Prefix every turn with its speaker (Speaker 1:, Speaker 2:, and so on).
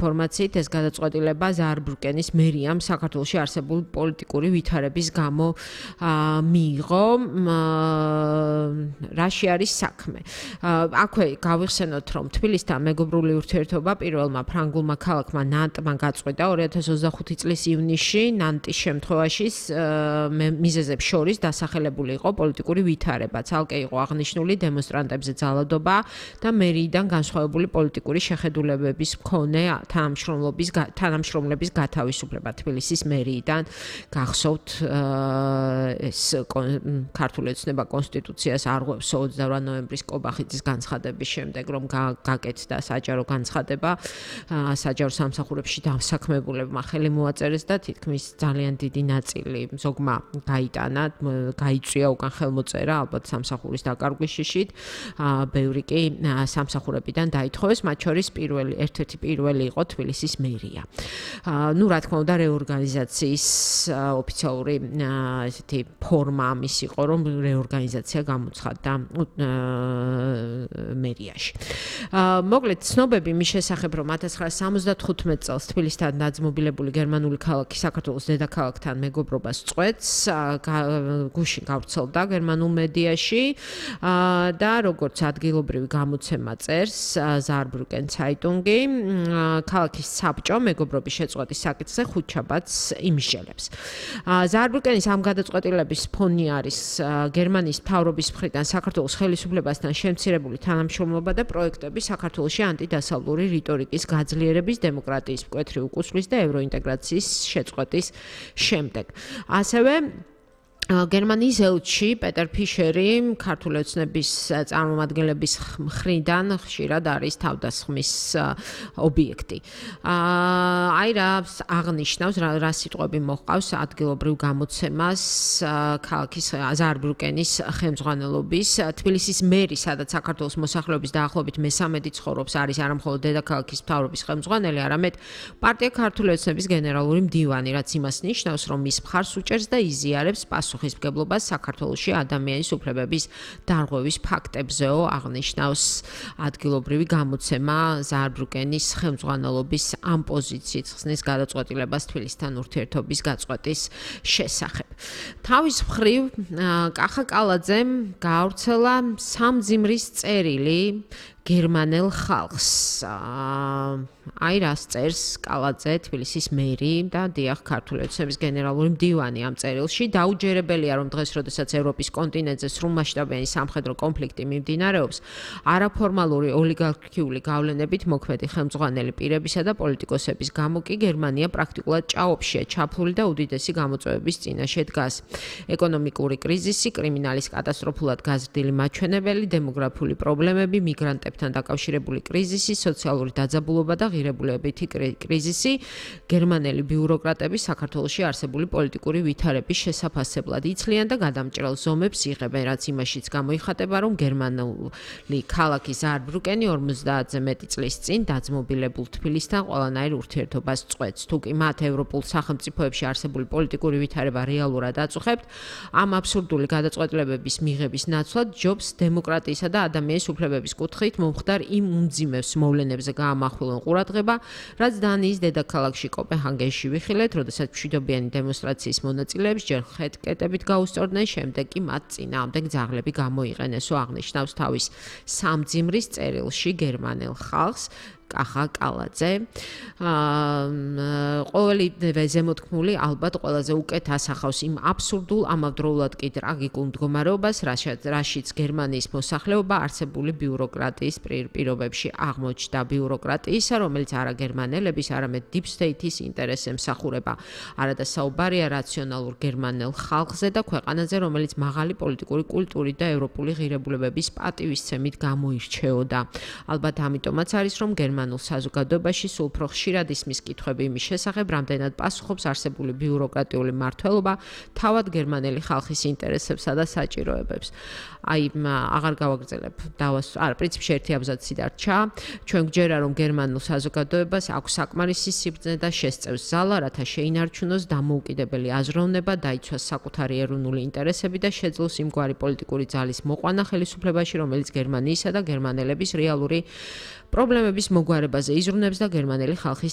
Speaker 1: ინფორმაციით ეს გადაწყვეტილება ზაარბრუკენის მერიამ საქართველოში არსებული პოლიტიკური ვითარების გამო მიიღო. რაში არის საქმე? აქვე გავიხსენოთ, რომ თბილისთან მეგობრული ურთიერთობა პირველმა ფრანგულმა ქალაქმა ნანტმა გაწყვიტა 2025 წლის ივნისში. ნანტის შემთხვევაში მიზეზებს შორის დასახელებული იყო პოლიტიკური ვითარება. ცალკე იყო აღნიშნული დემონსტრანტებზე ძალადობა და მერიიდან განსხვავებული პოლიტიკური შეხედულებების მქონე თანამშრომლების გათავისუფლება. თბილისის მერიიდან გახსოვთ ეს ქართული ოცნება კონსტიტუციას არღვევს 28 ნოემბრის კობახიძის განცხადების შემდეგ, რომ გაკეთდა საჯარო განცხადება საჯარო სამსახურებში დასაქმებულებმა ხელი მოაწერეს და თითქმის ძალიან დიდი ნაწილი ზოგმა გაიტანა, გაიწვია უკან ხელმოწერა ალბათ სამსახურის დაკარგვის შიშით. ბევრი კი სამსახურებიდან დაითხოვეს, მათ შორის ერთ-ერთი პირველი იყო თბილისის მერია. რა თქმა უნდა, რეორგანიზაციის ოფიციალური ესეთი ფორმა ამის იყო, რომ რეორგანიზაცია გამოცხადდა მერიაში. მოკლედ, ცნობები მის შესახებ, რომ 1975 წელს თბილისთან დაძმობილებული გერმანული ქალაქი საქართველოს დედაქალაქთან მეგობრობას წყვეტს, გუშინ გავრცელდა გერმანულ მედიაში და როგორც ადგილობრივი გამოცემა წერს ზაარბრუკენ ცაიტუნგი, ქალაქის საბჭო მეგობრობის შეწყვეტის საკითხზე ხუთშაბათს იმსჯელებს. ზაარბრუკენის ამ გადაწყვეტილების ფონი არის გერმანიის მთავრობის მხრიდან საქართველოს ხელისუფლებასთან შემცირებული თანამშრომლობა და პროექტები საქართველოში ანტიდასავლური რიტორიკის გაძლიერების, დემოკრატიის მკვეთრი უკუსვლის და ევროინტეგრაციის შეწყვეტის შემდეგ. ასევე გერმანიის ელჩი პეტერ ფიშერი ქართული ოცნების წარმომადგენლების მხრიდან ხშირად არის თავდასხმის ობიექტი. რა აღნიშნავს, რა სიტყვები მოჰყავს ადგილობრივ გამოცემას ქალაქის ზაარბრუკენის ხელმძღვანელობის. თბილისის მერი, სადაც საქართველოს მოსახლეობის დაახლოებით მე-13 ცხოვრობს, არის არა მხოლოდ დედაქალაქის მთავრობის ხელმძღვანელი, არამედ პარტია ქართული ოცნების გენერალური მდივანი, რაც იმას ნიშნავს, რომ მის მხარს უჭერს და იზიარებს პასუხისმგებლობას საქართველოში ადამიანის უფლებების დარღვევის ფაქტებზეო, აღნიშნავს ადგილობრივი გამოცემა ზაარბრუკენის ხელმძღვანელობის ამ პოზიციით ხსნის გადაწყვეტილებას თბილისთან ურთიერთობის გაწყვეტის შესახებ. თავის მხრივ კახა კალაძემ გაავრცელა სამძიმრის წერილი გერმანელ ხალხს. რას წერს კალაძე, თბილისის მერი და დიახ ქართული ოცნების გენერალური მდივანი ამ წერილში. დაუჯერებელია, რომ დღეს, როდესაც ევროპის კონტინენტზე სრულმასშტაბიანი სამხედრო კონფლიქტი მიმდინარეობს, არაფორმალური ოლიგარქიული გავლენებით მოქმედი ხელმძღვანელი პირებისა და პოლიტიკოსების გამო კი გერმანია პრაქტიკულად ჭაობშია ჩაფლული და უდიდესი გამოწვევების წინაშე დგას. ეკონომიკური კრიზისი, კრიმინალის კატასტროფულად გაზრდილი მაჩვენებელი, დემოგრაფიული პრობლემები, მიგრანტებთან დაკავშირებული კრიზისი, სოციალური დაძაბულობა და ღირებულებითი კრიზისი, გერმანელი ბიუროკრატები საქართველოში არსებული პოლიტიკური ვითარების შესაფასებლად იცლიან და გადამჭრელ ზომებს იღებენ, რაც იმაშიც გამოიხატება, რომ გერმანული ქალაქი ზაარბრუკენი 50-ზე მეტი წლის წინ დაძმობილებულ თბილისთან ყველანაირ ურთიერთობას წყვეტს. თუ კი მათ ევროპულ სახელმწიფოებში არსებული პოლიტიკური ვითარება რეალურად აწუხებთ, ამ აბსურდული გადაწყვეტილებების მიღების ნაცვლად ჯობს დემოკრატიისა და ადამიანის უფლებების კუთხით მომხდარ იმ უმძიმეს მოვლენებზე გაამახვილონ ყურადღება, რაც დანიის დედაქალაქში კოპენჰაგენში ვიხილეთ, როდესაც მშვიდობიანი დემონსტრაციის მონაწილეებს ჯერ ხეთკეტებით გაუსწორდნენ, შემდეგ კი მათ წინააღმდეგ ძაღლები გამოიყენესო, აღნიშნავს თავის სამძიმრის წერილში გერმანელ ხალხს კახა კალაძე. ყოველი ზემოთქმული ალბათ ყველაზე უკეთ ასახავს იმ აბსურდულ, ამავდროულად კი ტრაგიკულ მდგომარეობას, რაშიც გერმანიის მოსახლეობა არსებული ბიუროკრატიის პირობებში აღმოჩნდა. ბიუროკრატიისა, რომელიც არა გერმანელების, არამედ deep state-ის ინტერესს ემსახურება. არადა საუბარია რაციონალურ გერმანელ ხალხზე და ქვეყანაზე, რომელიც მაღალი პოლიტიკური კულტურით და ევროპული ღირებულებების პატივისცემით გამოირჩეოდა. ალბათ ამიტომაც არის, რომ გერმანულ საზოგადოებაში სულ უფრო ხშირად ისმის კითხვები იმის შესახებ, რამდენად პასუხობს არსებული ბიუროკრატიული მმართველობა თავად გერმანელი ხალხის ინტერესებსა და საჭიროებებს. აღარ გავაგრძელებ. პრინციპში ერთი აბზაცი დარჩა. ჩვენ გვჯერა, რომ გერმანულ საზოგადოებას აქვს საკმარისი სიბრძნე და შესწევს ზალა, რათა შეინარჩუნოს დამოუკიდებელი აზროვნება, დაიცვას საკუთარი ეროვნული ინტერესები და შეძლოს იმგვარი პოლიტიკური ძალის მოყვანა ხელისუფლებაში, რომელიც გერმანიისა და გერმანელების რეალური პრობლემების მოგვარებაზე იზრუნებს და გერმანელი ხალხის